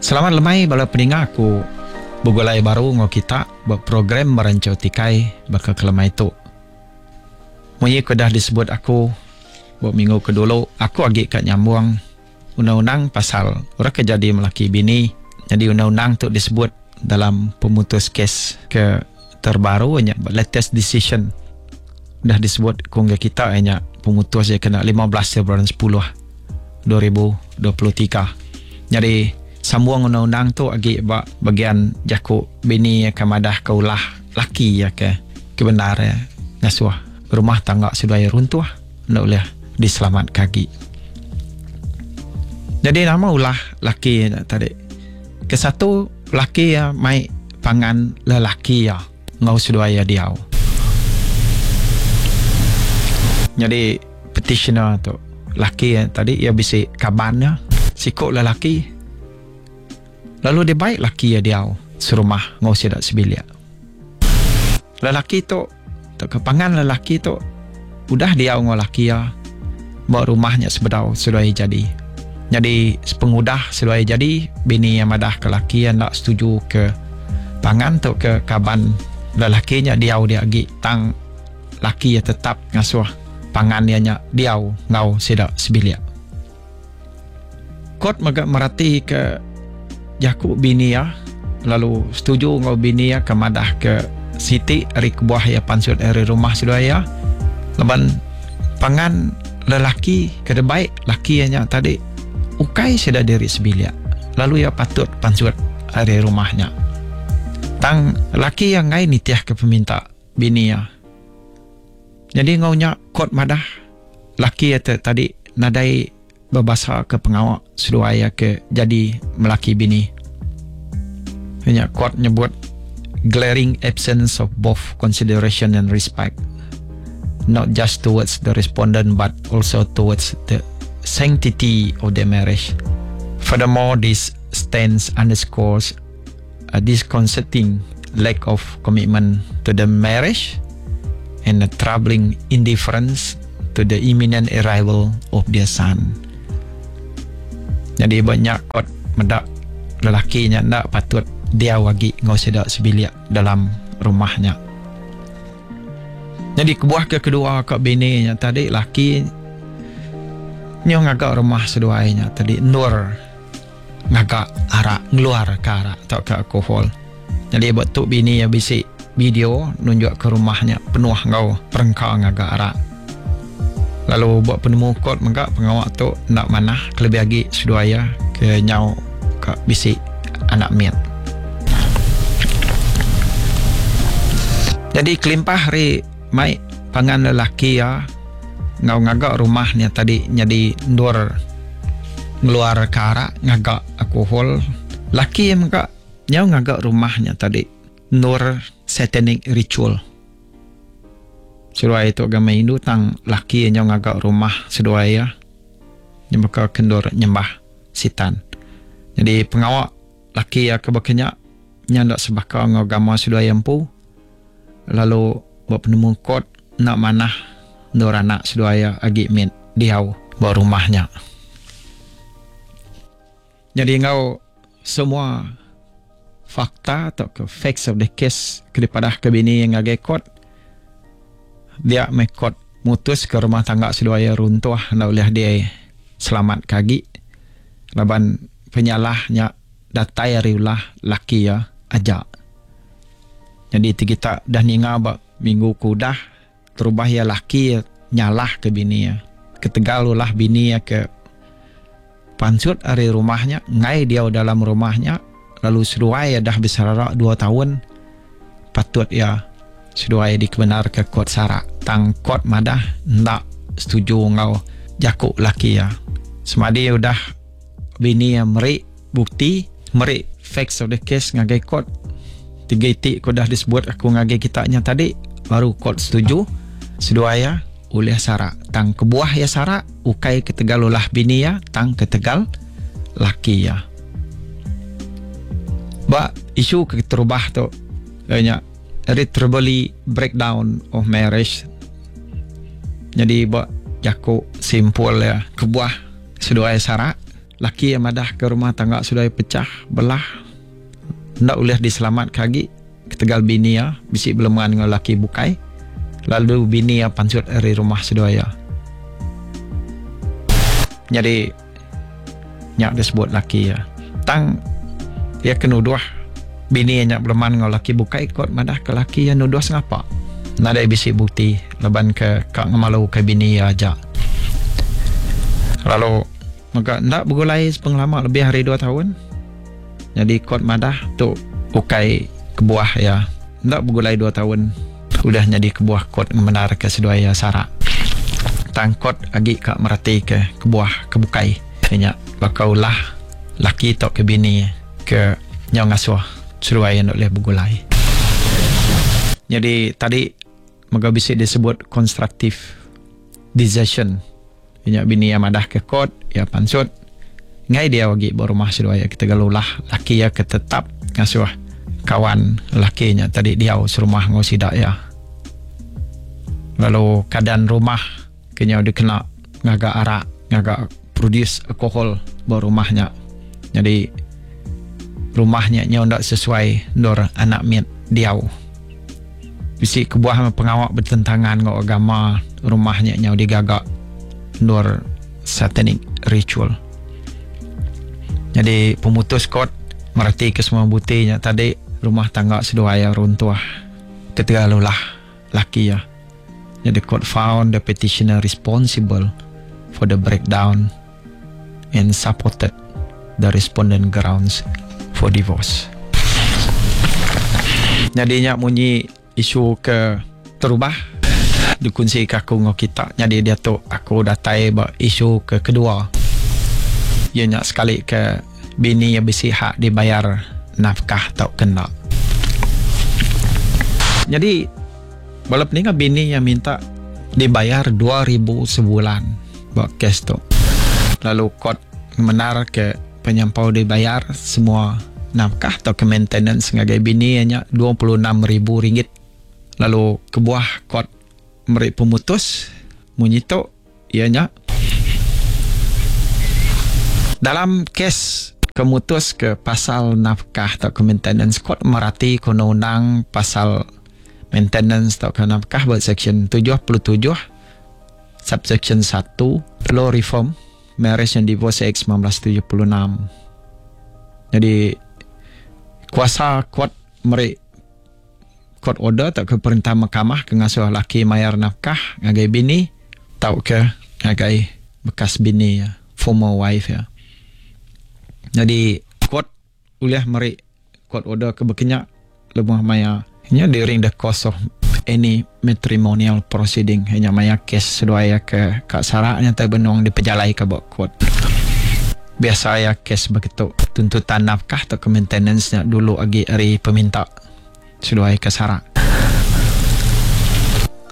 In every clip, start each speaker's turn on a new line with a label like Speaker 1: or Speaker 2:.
Speaker 1: Selamat lemai bala peninga aku begulai baru enggau kita ba program Meranchau Tikai baka ke lemai tu. Munyi ke udah disebut aku ba minggu ke dulu aku agi ka nyambung undang-undang pasal orang ke jadi melaki bini. Nyadi undang-undang tu disebut dalam pemutus kes ke terbaru nya ba latest decision udah disebut ku enggai kita iya nya pemutus iya kena 15 bulan 10 2023. Nyadi sambung undang-undang tu agi ba bagian jaku bini iya ke madah ke ulah laki iya ke ke bendar iya ngasuh rumah tangga seduai runtuh enda ulih diselamatka agi. Nyadi nama ulah laki nya tadi? Kesatu laki iya mai pangan lelaki iya enggau seduai iya diau. Nyadi petitioner tu laki iya tadi iya bisi kaban iya siku lelaki lalu dibai laki iya diau serumah enggau sida sebilik. Lelaki tu tauka pangan lelaki tu udah diau enggau laki iya ba rumah nya sebedau seduai iya jadi. Nyadi sepengudah seduai iya jadi, bini iya madahka laki iya enda setuju ke pangan tauka kaban lelaki nya diau dia agi tang laki iya tetap ngasuh pangan iya nya diau enggau sida sebilik. Kot mega meratika jaku bini iya lalu setuju enggau bini iya ke madahka siti ari kebuah iya pansut ari rumah seduai iya laban pangan lelaki ke debai laki iya nya tadi ukai sida diri sebilik lalu iya patut pansut ari rumah nya. Tang laki iya enggai nitihka peminta bini iya. Nyadi enggau nya kot madah laki iya te tadi nadai bebasa ke pengawa seduai iya ke jadi melaki bini. Iya nya court nyebut glaring absence of both consideration and respect not just towards the respondent but also towards the sanctity of their marriage. Furthermore, this stance underscores a disconcerting lack of commitment to the marriage and a troubling indifference to the imminent arrival of their son. Nyadi ba nya kot meda lelaki nya enda patut diau agi enggau sida sebilik dalam rumah nya. Nyadi kebuah ke kedua ka bini nya tadi laki nyau ngaga rumah seduai nya tadi endur ngaga arak ngeluarka arak tauka alkohol. Nyadi ba tu bini iya bisi video nunjukka rumah nya penuh enggau perengka ngaga arak. Lalu ba penemu kot mega pengawa tu enda manah kelebih agi seduai iya ke nyau ka bisi anak mit. Nyadi kelimpah ari mai pangan lelaki iya enggau ngaga rumah nya tadi nyadi endur ngeluarka arak ngaga alkohol, laki iya mega nyau ngaga rumah nya tadi endur satanic ritual. Seduai tu agama Hindu tang laki iya nyau ngaga rumah seduai iya nya baka ke endur nyembah sitan. Nyadi pengawa laki iya ke baka nya nya enda sebaka enggau agama seduai iya empu. Lalu ba penemu kot enda manah endur anak seduai iya agi mit diau ba rumah nya. Nyadi enggau semua fakta tauka facts of the case ke dipadahka bini iya ngagai kot, dia meh kot mutuska rumah tangga seduai iya runtuh enda ulih diselamatka agi laban penyalah nya datai ari ulah laki iya aja. Nyadi ti kita udah ninga ba minggu ke udah, terubah iya laki iya nyalahka bini iya. Ketegal ulah bini iya ke pansut ari rumah nya, enggai diau dalam rumah nya, lalu seduai iya dah beserara dua taun, patut iya seduai dikebenarka kot sarak. Tang kot madah enda setuju enggau jaku laki iya. Semadi udah bini iya meri Bukti, meri facts of the case ngagai court. Tiga iti ke udah disebut aku ngagai kita nya tadi, baru court setuju seduai iya ulih sarak. Tang kebuah iya sarak ukai ketegal ulah bini iya tang ketegal laki iya. Ba isu ke keterubah tu iya nya irretrievably breakdown of marriage. Nyadi ba jaku simpul iya kebuah seduai sarak. Laki iya madah ke rumah tangga seduai pechah belah enda ulih diselamatka agi ketegal bini iya bisi beleman enggau laki bukai lalu bini iya pansut ari rumah seduai iya. Nyadi nya disebut laki iya. Tang iya ke nuduh bini iya nya beleman enggau laki bukai kot madah ke laki iya nuduh sengapa. Nadai bisi bukti laban ke ka ngemaluka bini iya aja. Lalu Mega enda begulai sepengelama lebih ari dua taun. Nyadi kot madah tu ukai kebuah iya enda begulai dua taun udah nyadi kebuah kot ngemendarka seduai iya sarak. Tang kot agi ka meratika kebuah ke bukai iya nya baka ulah laki tauka bini ke nyau ngasuh seduai iya enda ulih begulai. Nyadi tadi mega bisi disebut constructive desertion. Iya nya bini iya madah ke kot, iya pansut enggai diau agi ba rumah seduai iya ketegal ulah laki iya ke tetap ngasuh kawan laki nya tadi diau serumah enggau sida iya. Lalu keadaan rumah ke nyau dikena ngaga arak, ngaga produce alkohol ba rumah nya. Nyadi rumah nya nyau enda sesuai endur anak mit diau. Bisi kebuah pengawa betentangan enggau agama rumah nya nyau digaga endur satanic ritual. Nyadi pemutus kot mereti ke semua buti nya tadi rumah tangga seduai iya runtuh ketegal ulah laki iya. Nyadi court found the petitioner responsible for the breakdown and supported the respondent grounds for divorce. Nyadi nya munyi isu ke terubah dikunsika aku enggau kita. Nyadi diatu aku datai ba isu ke kedua iya nya sekali ke bini iya bisi hak dibayar nafkah tauka enda. Nyadi bala peninga bini iya minta dibayar 2000 sebulan. Ba kes tu, lalu kot ngemendarka penyampau dibayar semua nafkah tauka maintenance ngagai bini iya nya 26 ribu ringgit. Lalu kebuah kot meri pemutus munyi tu iya nya dalam kes ke mutuska pasal nafkah tauka maintenance kot meratika undang-undang pasal maintenance tauka nafkah ba seksyen 77 Subseksyen satu, Law Reform, Marriage and Divorce Act 1976. Jadi kuasa court meri court order tauka perintah mahkamah ke ngasuh laki mayar nafkah ngagai bini tauka ngagai bekas bini iya, former wife iya. Jadi court ulih meri court order ke bekenya lebuh maya nya during the course of any matrimonial proceeding nya maya kes seduai iya ke ka sarak nya tai benung dipejalaika ba court. Biasa iya kes begitu tuntutan nafkah tauka maintenance nya dulu agi ari peminta seduai ke sarak.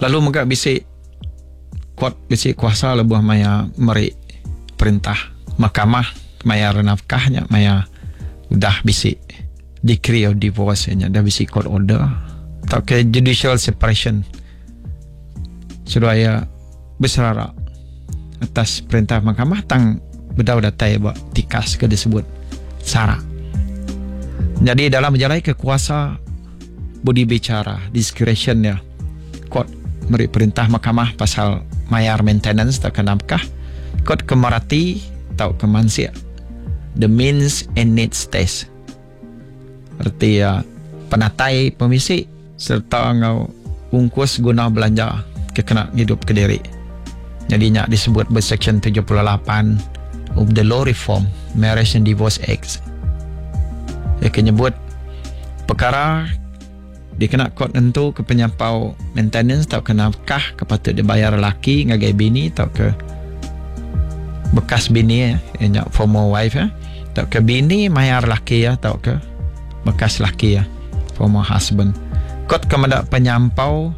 Speaker 1: Lalu mega bisi court bisi kuasa lebuh maya meri perintah mahkamah mayar nafkah nya maya udah bisi decree of divorce nya udah bisi court order tauka judicial separation seduai iya beserara atas perintah mahkamah tang bedau datai ba tikas ke disebut sarak. Nyadi dalam bejalai ke kuasa budi bicara discretion iya court meri perintah mahkamah pasal mayar maintenance tauka nafkah court ke merati tauka mansik the means and needs test reti iya penatai pemisi sereta enggau ungkus guna belanja ke kena ngidup kediri. Nyadi nya disebut ba Seksyen 78 of the Law Reform, Marriage and Divorce Act. Iya ke nyebut pekara dikena kot nentuka penyampau maintenance tauka nafkah ke patut dibayar laki ngagai bini tauka bekas bini iya nya former wife iya tauka bini mayar laki iya tauka bekas laki iya former husband. Kot ke meda penyampau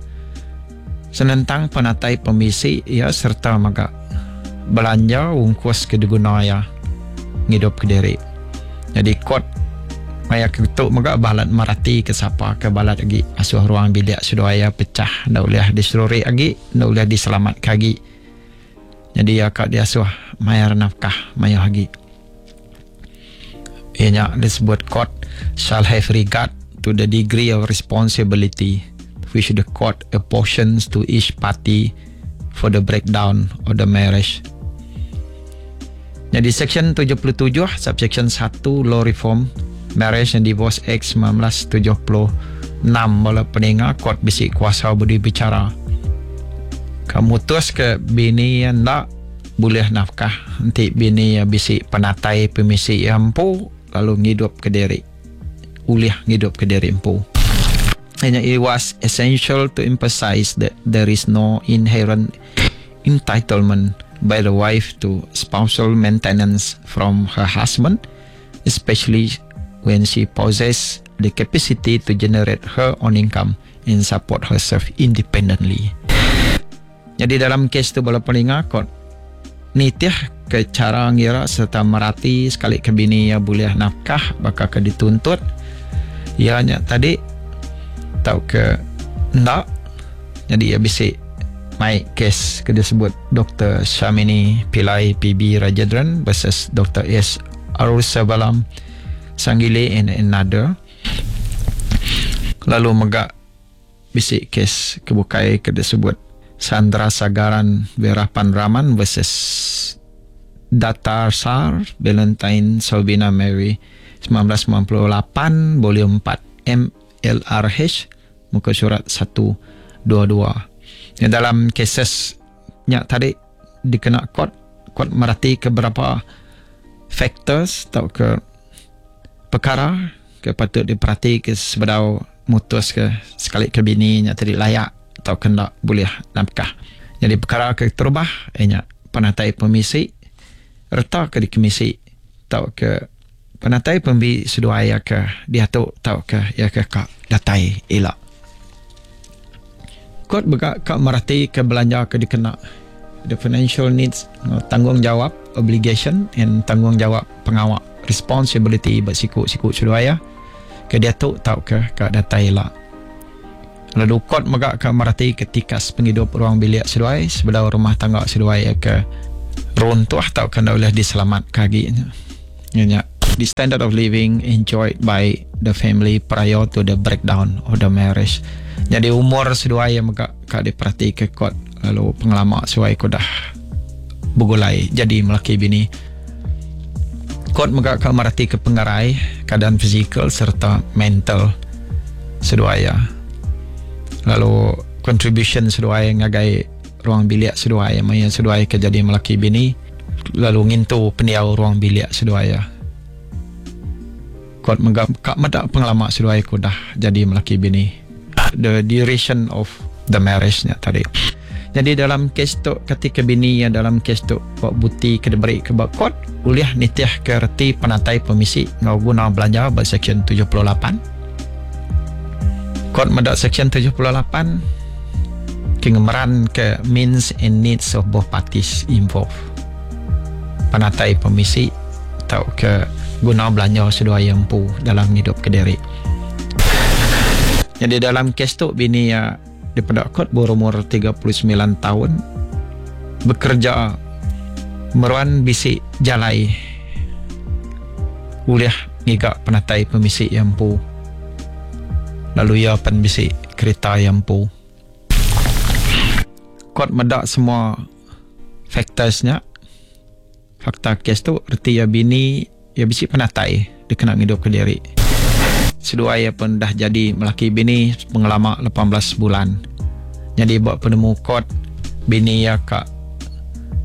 Speaker 1: Senentang penatai pemisi iya sereta mega belanja ungkus ke diguna iya ngidup kediri. Nyadi kot maya ke tu mega balat merati ke sapa ke balat agi asuh ruang bilik seduai iya pechah enda ulih diseruri agi enda ulih diselamatka agi. Nyadi iya ka diasuh mayar nafkah mayuh agi. Iya nya disebut court shall have regard to the degree of responsibility which the court apportions to each party for the breakdown of the marriage. Nyadi Seksyen 77 subseksyen satu Law Reform Marriage and Divorce Act 1976 bala peninga court bisi kuasa budi bicara ka mutus ke bini iya enda bulih nafkah enti bini iya bisi penatai pemisi iya empu lalu ngidup kediri ulih ngidup kediri empu. Inya it was essential to emphasize that there is no inherent entitlement by the wife to spousal maintenance from her husband especially when she possess the capacity to generate her own income and support herself independently. Nyadi dalam kes tu bala peninga kot nitih ke chara ngira sereta merati sekali ke bini iya bulih nafkah baka ke dituntut iya nya tadi tauka enda nyadi iya bisi mai kes ke disebut Doktor Shamini Pillai PB Rajendran versus Doktor S Arusabalam Sanggili and another lalu mega Bisi kes ke bukai ke disebut Sandra Sagaran Veerapan Raman versus Datarsar Valentine Salvina Mary 1998 Volume 4 MLRH muka surat 122. Nya dalam cases nya tadi dikena court, court merati ke berapa factors tauka pekara ke patut diperati ke sebedau mutus ke sekali ke bini nya tadi layak tauka enda bulih nafkah. Nyadi pekara ke terubah iya nya penatai pemisi reta ke dikemisi tauka penatai pembi seduai iya ke diatu tauka iya ke ka datai ila. Kot mega ka merati ke belanja ke dikena the financial needs enggau tanggungjawab obligation and tanggungjawab pengawa responsibility ba siku-siku seduai iya. Ke diatu tauka ka datai ila. Lalu kot mega ka mereti ke tikas pengidup ruang bilik seduai sebedau rumah tangga seduai iya ke runtuh tauka enda ulih diselamatka agi nya. Iya nya the standard of living enjoyed by the family prior to the breakdown of the marriage. Nyadi umur seduai iya mega ka diperatika kot lalu pengelama seduai ke udah begulai jadi melaki bini. Kot mega ka meratika pengerai, keadaan fizikal sereta mental seduai iya. Lalu contribution seduai ngagai ruang bilik seduai maya seduai ke jadi melaki bini lalu ngintu pendiau ruang bilik seduai iya. Kot mega ka meda pengelama seduai ke udah jadi melaki bini. The duration of the marriage nya tadi. Nyadi dalam kes tu kati ke bini iya dalam kes tu ba buti ke diberi ke ba court ulih nitih ke reti penatai pemisi enggau guna belanja ba seksyen 78. Court meda seksyen 78 ke ngemeran ke means and needs of both parties involved. Penatai pemisi tauka guna belanja seduai iya empu dalam ngidup kediri. Nyadi dalam kes tu bini iya Dipeda kot berumur 39 taun bekereja meruan bisi jalai ulih ngiga penatai pemisi iya empu lalu iya pen bisi kerita iya empu. Kot meda semua factors nya, fakta kes tu reti iya bini Iya bisi penatai dikena ngidupka diri. Seduai iya pen udah jadi melaki bini pengelama 18 bulan. Nyadi ba penemu kot, bini iya ka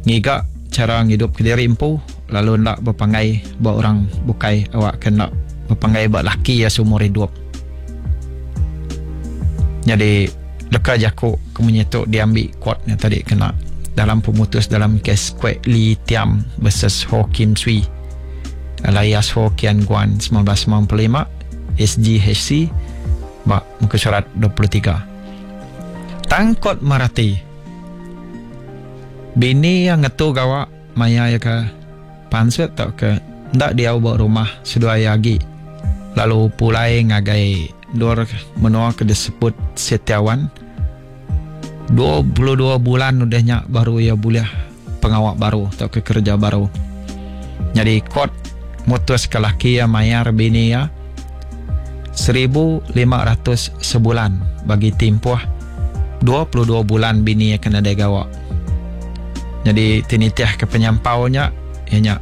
Speaker 1: ngiga chara ngidupka diri empu lalu enda bepanggai ba orang bukai awakka enda bepanggai ba laki iya seumur idup. Nyadi leka jaku ke munyi tu diambi kot nya tadi kena dalam pemutus dalam kes Kwek Lee Tiam versus Ho Kim Swee alias Ho Kian Guan 1995 SGHC ba muka surat 23. Tang kot merati bini iya ngetu gawa maya iya ke pansut tauka enda diau ba rumah seduai iya agi lalu pulai ngagai endur menua ke disebut Setiawan. 22 bulan udah nya baru iya bulih pengawa baru tauka kereja baru. Nyadi kot mutuska laki iya mayar bini iya 1500 sebulan bagi timpuh 22 bulan bini iya ke nadai gawa. Nyadi ti nitihka penyampau nya iya nya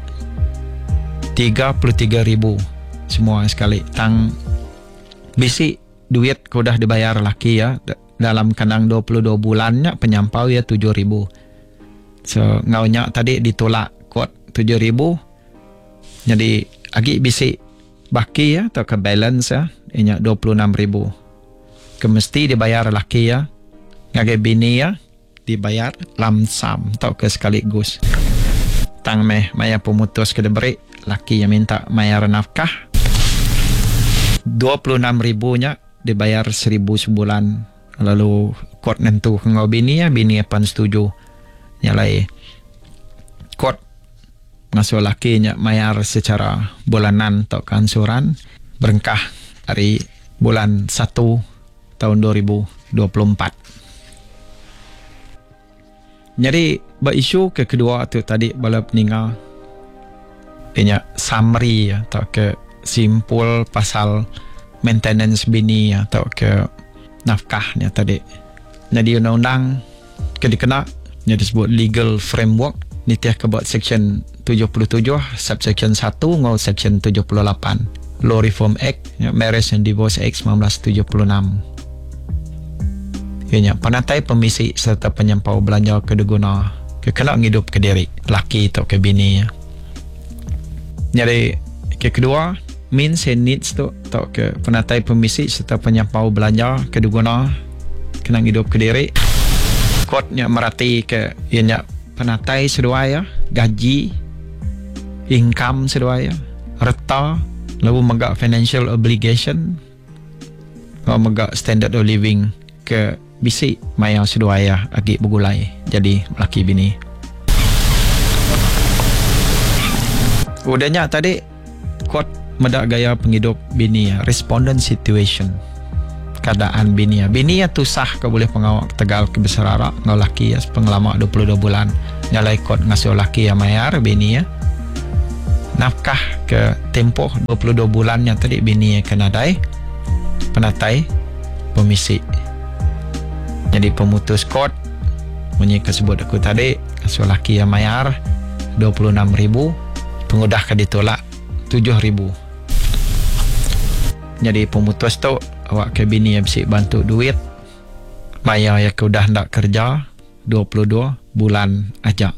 Speaker 1: 33,000 semua sekali tang bisi duit ke udah dibayar laki iya dalam kandang 22 bulan nya penyampau iya 7,000. So enggau nya tadi ditulak kot 7,000 nyadi agi bisi baki iya tauka balance iya iya nya 26,000 ke mesti dibayar laki iya ngagai bini iya dibayar lump sum tauka sekali gus. Tang meh maya pemutus ke diberi laki iya minta mayar nafkah 26,000 nya dibayar 1,000 sebulan. Lalu kot nentu ke enggau bini iya, bini iya pan setuju. Nya alai kot ngasuh laki nya mayar secara bulanan tauka ansuran berengkah ari bulan satu taun 2024. Nyadi ba isu ke kedua tu tadi bala peninga iya nya summary tauka simpul pasal maintenance bini tauka nafkah nya tadi. Nyadi undang-undang ke dikena nya disebut legal framework nitihka ba seksyen 77 subseksyen satu enggau seksyen 78 Law Reform Act nya Marriage and Divorce Act 1976. Iya nya penatai pemisi sereta penyampau belanja ke diguna ke kena ngidupka diri laki tauka bini iya. Nyadi ke kedua, means and needs tu tauka penatai pemisi sereta penyampau belanja ke diguna kena ngidupka diri. Kot nya meratika iya nya penatai seduai iya, gaji, income seduai iya, reta lalu mega financial obligation. Enggau mega standard of living ke bisi maya seduai iya agi begulai jadi melaki bini. Udah nya tadi court meda gaya pengidup bini iya, respondent situation. Keadaan bini iya. Bini iya tusah ke bulih pengawa ketegal ke beserara enggau laki iya sepengelama 22 bulan. Nya alai court ngasuh laki iya mayar bini iya nafkah ke tempoh 22 bulan nya tadi bini iya ke nadai penatai pemisi. Nyadi pemutus court munyi ke sebut aku tadi ngasuh laki iya mayar 26,000 pengudah ke ditolak 7,000. Nyadi pemutus tu awak ke bini iya bisi bantu duit maya iya ke udah enda kerja 22 bulan aja.